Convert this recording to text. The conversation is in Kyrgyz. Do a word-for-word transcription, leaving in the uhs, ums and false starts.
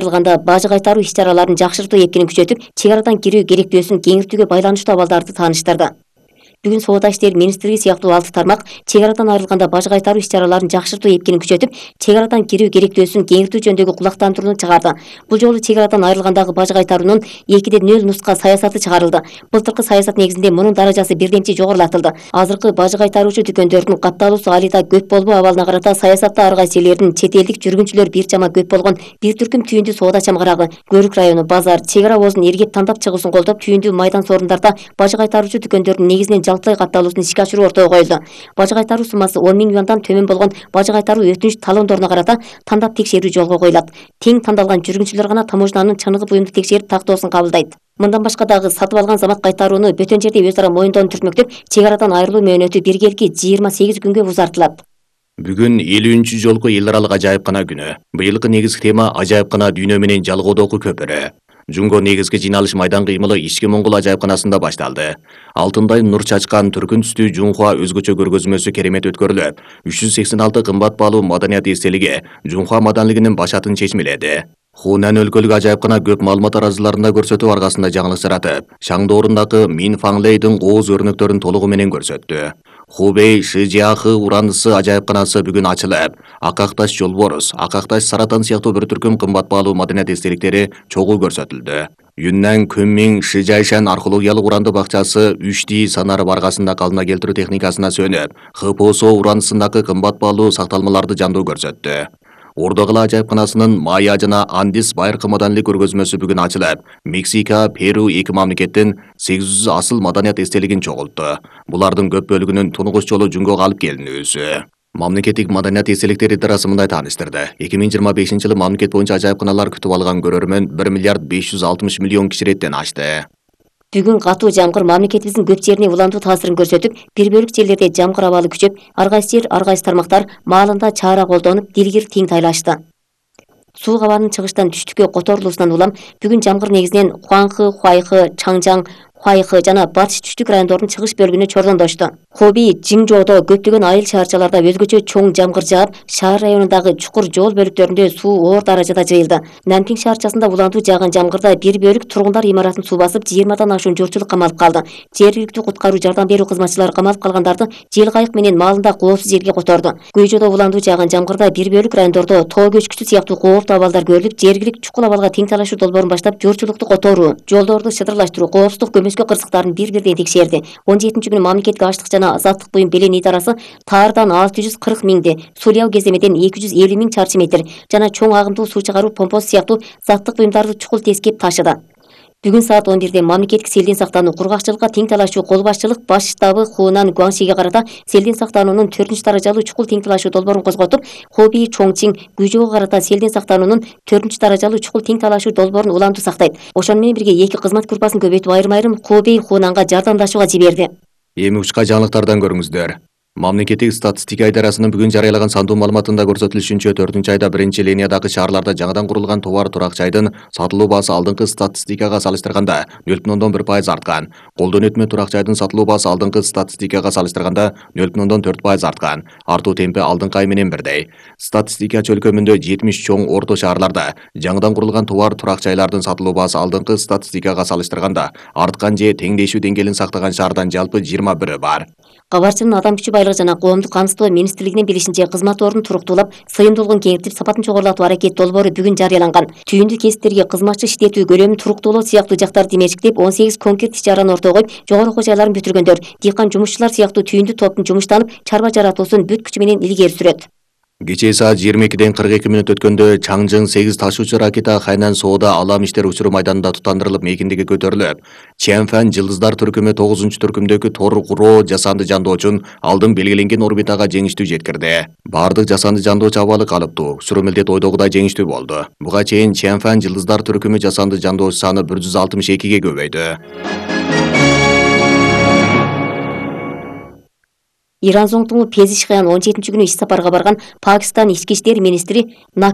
Айрылганда бажы кайтаруу иш-чараларын жакшыртуу экенин күчөтүп, чек арадан кирүү керектөөсүн кеңиртүүгө байланыштуу абалдарды тааныштырды. Бүгүн Соода иштери министрлиги сыяктуу алты тармак чек арадан айрылганда бажы кайтаруу иш-чараларын жакшыртуу экенин күчөтүп, чек арадан кирүү керектөөсүн кеңиртүү жөнүндөгү кулактандырууну чыгарды. Бул жолу чек арадан айрылгандагы бажы кайтаруунун экиде нөл нуска саясаты чыгарылды. Былтыркы саясат негизинде мунун даражасы бирдемчи жогорулатылды. Азыркы бажы кайтаруучу дүкөндөрдүн катталуусу алида көп болбоо абалына карата саясатта ар кайсы элдердин чет элдик жүргүнчүлөр бир жама көп болгон бир түркүм түйүндү соода чамгарагы, Көрүк району, базар, чек ара обозун эргеп тандап чыгуусун колдоп, түйүндү майдан сорундарда бажы кайтаруучу дүкөндөрдүн негизинен жалпылай катталуусун ишке ашыруу ортого коюлду. Бажы кайтаруу суммасы он миң юандан төмөн болгон бажы кайтаруу өтүнүч талондоруна карата тандап текшерүү жолго коюлат. Тең тандалган жүргүнчүлөр гана таможнанын чыныгы буюмду текшерип тактоосун кабылдайт. Мындан башка дагы сатып алган замат кайтарууну бөтөн жерде өз ара моюндоону түртмөктөп, чек арадан айрылуу мөөнөтү биргелки жыйырма сегиз күнгө узартылат. Бүгүн элүүнчү жолку эл аралык ажайыпкана күнү. Быйылкы негизги тема ажайыпкана дүйнө менен жалгоодогу көпүрө. Жунго негизги жыйналыш майдан кыймылы ички Моңгол ажайыпканасында башталды. Алтындай нур чачкан түркүн түстүү Жунхуа өзгөчө көргөзмөсү керемет өткөрүлүп, үч жүз сексен алты кымбат баалуу маданият эстелиги Жунхуа маданилигинин башатын чечмеледи. Хунан өлкөлүк ажайыпкана көп маалымат аразыларында көрсөтүү аркасында жаңылык жаратып, Шаңдоорундагы Мин Фаңлейдин кооз өрнөктөрүн толугу менен көрсөттү. Хубей Шижиахы урандысы ажайыпканасы бүгүн ачылып, Акакташ жолборус, Акакташ саратан сыяктуу бир түркүм кымбат баалуу маданият эстеликтери чогуу көрсөтүлдү. Юннан Күнмиң Шижайшан археологиялык уранды бакчасы Үшти санары баргасында калына келтирүү техникасына сөнүп, Хпосо урандысындагы кымбат баалуу сакталмаларды жандуу көрсөттү. Ордогала ажайыпканасынын Майя жана Андис байыркы маданилик көргөзмөсү бүгүн ачылып, Мексика, Перу эки мамлекеттин сегиз жүз асыл маданият эстелигин чогултту. Булардын көп бөлүгүнүн тунугуч жолу Жунгога алып келинүүсү. Мамлекеттик маданият эстеликтер идарасы мындай тааныштырды. эки миң жыйырма бешинчи жылы мамлекет боюнча ажайыпканалар күтүп алган көрөрмөн бир миллиард беш жүз алтымыш миллион киширеттен ашты. Бүгүн катуу жамгыр мамлекетибиздин көп жерине улантуу таасирин көрсөтүп, бир бөлүк жерлерде жамгыр абалы күчөп, ар кайсы жер, ар кайсы тармактар маалында чаара колдонуп, дилгир тең тайлашты. Суук абанын чыгыштан түштүккө которулуусунан улам бүгүн жамгыр негизинен Хуанхы, Хуайхы, Чаңжаң, Хуайхы жана батыш түштүк райондордун чыгыш бөлүгүнө чордондошту. Хоби, Жиңжоодо көптөгөн айыл шаарчаларда өзгөчө чоң жамгыр жаап, шаар районундагы чукур жол бөлүктөрүндө суу оор даражада жыйылды. Нанпиң шаарчасында улантуу жааган жамгырда бир бөлүк тургундар имаратын суу басып, жыйырмадан ашуун журтчулук камалып калды. Жергиликтүү куткаруу жардам берүү кызматчылары камалып калгандарды жел кайык менен маалында коопсуз жерге которду. Күйжодо улантуу жааган жамгырда бир бөлүк райондордо тоо көчкүсү сыяктуу кооптуу абалдар көрүлүп, жергилик чукул абалга тең талашуу долбоорун баштап, журтчулукту которуу, жолдорду шыдырлаштыруу, коопсуздук көмөскө кырсыктарын бир-бирден текшерди. он жетинчи күнү мамлекеттик аштык жана азаттык буюм белен идарасы Таардан алты жүз кырк миңди, Суляу кеземеден эки жүз элүү миң чарчы метр жана чоң агымдуу суу чыгаруу помпосу сыяктуу заттык буюмдарды чукул тескеп ташыды. Бүгүн саат он бирде мамлекеттик селден сактануу, кургакчылыкка тең талашуу кол башчылык баш штабы Хунан Гуаңшиге карата селден сактануунун төртүнчү даражалуу чукул тең талашуу долбоорун козготуп, Хоби Чоңчиң Гүйжоого карата селден сактануунун төртүнчү даражалуу чукул тең талашуу долбоорун улантуу сактайт. Ошону менен бирге эки кызмат группасын көбөйтүп айрым-айрым Хоби Хунанга жардамдашууга жиберди. Эми учка жаңылыктардан көрүңүздөр. Мамлекеттик статистика идарасынын бүгүн жарыялаган сандуу маалыматында көрсөтүлүшүнчө төртүнчү айда биринчи линиядагы шаарларда жаңыдан курулган товар турак жайдын сатылуу баасы алдыңкы статистикага салыштырганда нөл бүтүн ондон бир пайыз арткан. Колдон өтмө турак жайдын сатылуу баасы алдыңкы статистикага салыштырганда нөл бүтүн ондон төрт пайыз арткан. Артуу темпи алдыңкы ай менен бирдей. Статистика чөлкөмүндө жетимиш чоң орто шаарларда жаңыдан курулган товар турак жайлардын сатылуу баасы алдыңкы статистикага салыштырганда арткан же теңдешүү деңгээлин сактаган шаардан жалпы жыйырма бирөө бар. Кабарчынын адам күчү байлыгы жана коомдук камсыздоо министрлигинин билишинче, кызмат ордун туруктуулап, сыйымдуулугун кеңиртип, сапатын чогорулатуу аракет долбоору бүгүн жарыяланган. Түйүндү кесиптерге кызматчы иштетүү көлөмүн туруктуулоо сыяктуу жактарды демешиктеп, он сегиз конкрет иш-чараны ортого коюп, жогору окуу жайларын бүтүргөндөр, дыйкан жумушчулар сыяктуу түйүндү топтун жумуштанып, чарба жаратуусун бүт күчү менен илгери сүрөт. Кечээ саат жыйырма экиден кырк эки мүнөт өткөндө Чаңжың сегиз ташуучу ракета Хайнан Соода алам иштер учуру майданында тутандырылып, мейкиндиги көтөрүлүп, Чэнфэн жылдыздар түркүмү тогузунчу түркүмдөгү Торгуро жасанды жандоочун алдын белгиленген орбитага жеңиштүү жеткирди. Бардык жасанды жандоочу абалы калыптуу, сүрөмөлдет ойдогудай жеңиштүү болду. Буга чейин Чэнфэн жылдыздар түркүмү жасанды жандоочу саны бир жүз алтымыш экиге көбөйдү. Иран зоңтуңу Пезишхаян он жетинчи күнү иш сапарга барган Пакистан ички иштер министри